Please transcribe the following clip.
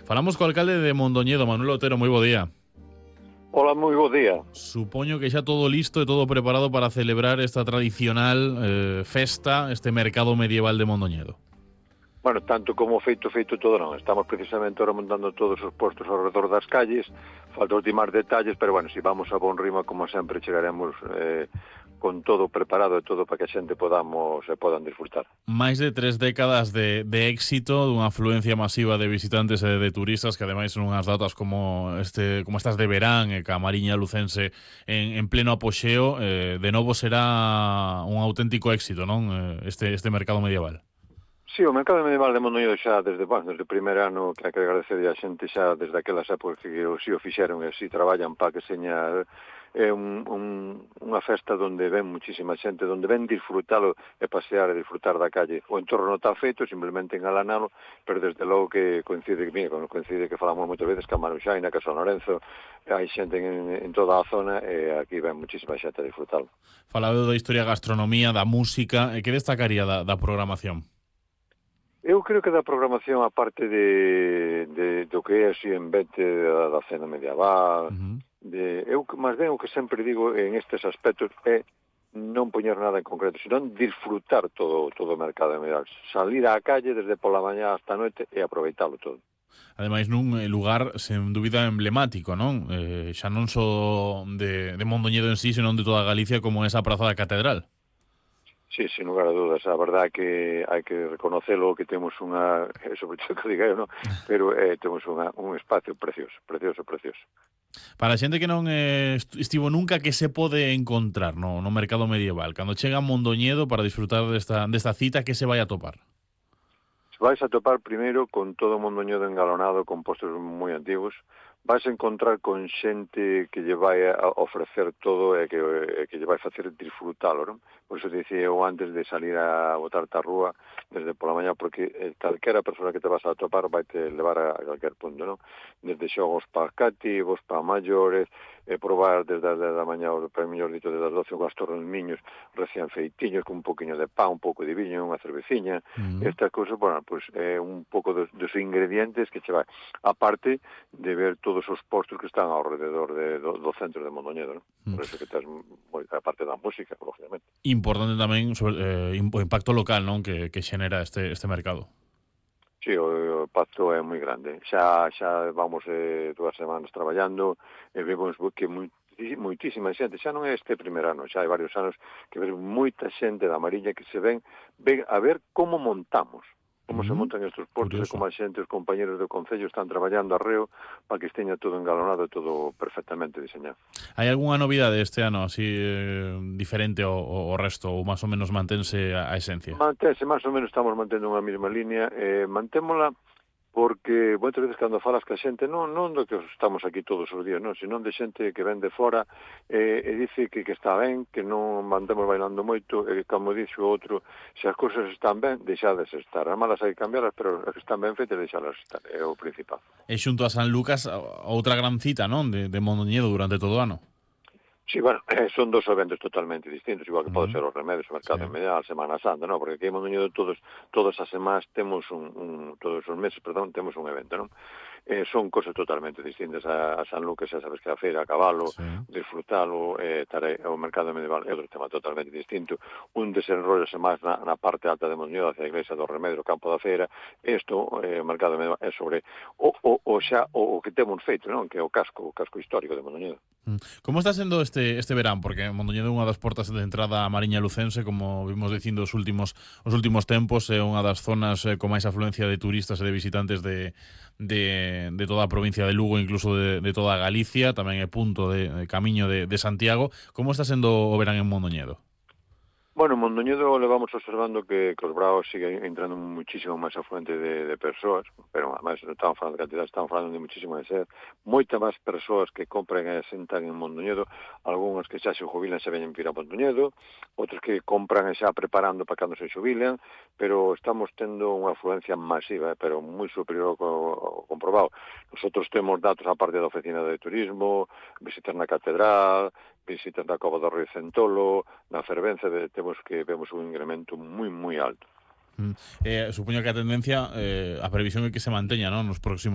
Falamos co alcalde de Mondoñedo, Manuel Otero, moi bo día. Ola, moi bo día. Supoño que xa todo listo e todo preparado para celebrar esta tradicional festa, este mercado medieval de Mondoñedo. Bueno, tanto como feito todo non. Estamos precisamente ahora montando todos os postos ao redor das calles. Falta ultimar detalles, pero bueno, si vamos a bon ritmo, como sempre, chegaremos con todo preparado e todo para que a xente podan disfrutar. Máis de 3 décadas de éxito, dunha afluencia masiva de visitantes e de turistas, que ademais son unhas datas como estas de verán e ca Mariña Lucense en pleno apoxeo, de novo será un auténtico éxito, non? Este mercado medieval. Sí, o mercado medieval de Mondoñedo xa desde o primeiro ano, que hai que agradecer a xente xa desde aquelas épocas que o fixeron e si traballan para que seña unha festa onde ven muchísima xente, onde ven disfrutalo e pasear e disfrutar da calle. O entorno está feito, simplemente engalanalo, pero desde logo que coincide que falamos moitas veces que a Maruxaina, que a San Lorenzo, hai xente en toda a zona e aquí ven muchísima xente a disfrutalo. Falaba da historia, gastronomía, da música, e que destacaría da programación? Eu creo que da programación, a parte do que é así en vete da cena medieval, eu máis ben o que sempre digo en estes aspectos é non poñer nada en concreto, senón disfrutar todo o mercado medieval, salir á calle desde pola mañá hasta a noite e aproveitalo todo. Ademais, nun lugar, sen dúbida, emblemático, non? Xa non só de Mondoñedo en sí, senón de toda Galicia, como esa praza da Catedral. Sí, sin lugar a dudas, a verdade que hai que reconocelo, que temos sobre todo que diga eu, non? Pero temos un espacio precioso. Para a xente que non estivo nunca, que se pode encontrar no mercado medieval? Cando chega a Mondoñedo para disfrutar desta cita, que se vai a topar? Vais a topar primeiro con todo o Mondoñedo engalonado, con postos moi antigos. Vais a encontrar con xente que lle vai a ofrecer todo e que lle vai facer disfrutalo, non? Por iso dicía eu antes de salir a botarte á rúa desde pola mañá, porque calquera persona que te vas a topar vai te levar a calquer punto, non? Desde xogos para cativos, para maiores, probar desde as 10 da mañá, para mellor dito, desde as 12 os tornillos recién feitiños, con un poquinho de pan, un pouco de viño, unha cerveciña. Estas cousas, bueno, pues un pouco dos ingredientes que che vai. Aparte de ver todos os postos que están ao rededor do centro de Mondoñedo, non? Por eso que tens a parte da música, lógicamente. Importante tamén sobre o impacto local, non? Que xenera este mercado. Sí, o impacto é moi grande. Xa vamos 2 semanas traballando e vemos que moitísima xente, xa non é este primeiro ano, xa hai varios anos que vemos moita xente da Mariña que se ven a ver como montamos, como se montan estes postos e como a xente, os compañeros do Concello están traballando arreo para que esteña todo engalonado e todo perfectamente diseñado. Hai algunha novidade este ano así diferente ao resto, ou máis ou menos mantense a esencia? Mantense, máis ou menos estamos mantendo unha mesma línea, mantémola porque moitas veces cando falas ca xente, non do que estamos aquí todos os días, non, senón de xente que ven de fora e dice que está ben, que non mandemos bailando moito, e como dixo o outro, se as cousas están ben, deixades estar. As malas hai que cambiarlas, pero as que están ben feitas, deixalas estar, é o principal. E xunto a San Lucas, outra gran cita, non, de Mondoñedo durante todo o ano. Sí, bueno, son dos eventos totalmente distintos, igual que pode ser os Remedios, o Mercado Medieval, Semana Santa, non? Porque aquí en Mondoñedo todas as semanas temos todos os meses, temos un evento, non? Son cosas totalmente distintas. A San Lucas, xa sabes que a feira a cabalo, disfrutalo, o Mercado Medieval é outro tema totalmente distinto. Un desenrollase máis na parte alta de Mondoñedo, hacia a Iglesia do Remedio, o campo da feira. Isto, o Mercado Medieval, é sobre o que temos feito, non? Que é o casco histórico de Mondoñedo. Como está sendo este verán? Porque Mondoñedo é unha das portas de entrada a Mariña Lucense, como vimos dicindo os últimos tempos, é unha das zonas con máis afluencia de turistas e de visitantes de toda a provincia de Lugo, incluso de toda Galicia, tamén é punto de camiño de Santiago. Como está sendo o verán en Mondoñedo? Bueno, en Mondoñedo levamos observando que os bravos siguen entrando muchísimo máis afluente de persoas, pero además non estamos falando de cantidad, estamos falando de muchísimo de ser. Moita máis persoas que compren e sentan en Mondoñedo, algúns que xa se jubilan se veñen vir a Mondoñedo, outros que compran e xa preparando para cando se jubilan, pero estamos tendo unha afluencia masiva, pero moi superior ao comprobado. Nosotros temos datos a parte da oficina de turismo, visitas na catedral, visitas da Cova do Río Centolo, na Fervenza, vemos un incremento moi alto. Supoño que a tendencia, a previsión é que se manteña, non, nos próximos